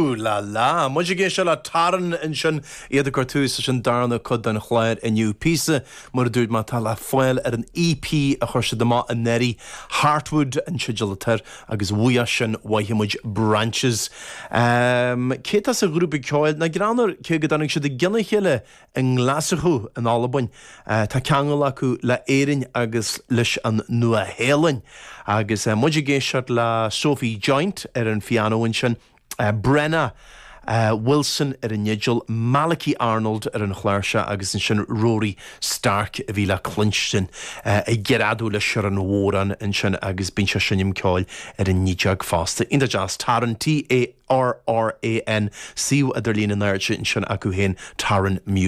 Ooh la la! Muid ag éisteacht le Tarran ansin, iad ag cur tús leis an darna cuid den chlár inniu. Píosa, mar a dúirt mé, atá le fáil ar an EP a chuir siad amach anuraidh, Heartwood an teideal atá air, agus uaidh sin mhothaigh muid Branches. Cé atá sa ghrúpa ceoil? Nach greannmhar, cé go dtáinig siad i gcionn a chéile i nGlaschú in Albain. Tá ceangal acu le Éirinn agus leis an Nua-Shéalainn. Agus muid ag éisteacht le Sophie Joynt ar an phianó ansin, Brenna Wilson ar an fhidil, Malachy Arnold ar an chláirseach agus ansin Rory Stark a bhí le cluinstin ag greadadh leis ar an bhodhrán ansin agus bíonn sé ag seinm ceoil ar an fhídeog fosta. Iontach deas. Tarran, T-A. RRAN, suíomh idirlín in airde ansin acu féin, Tarran Music.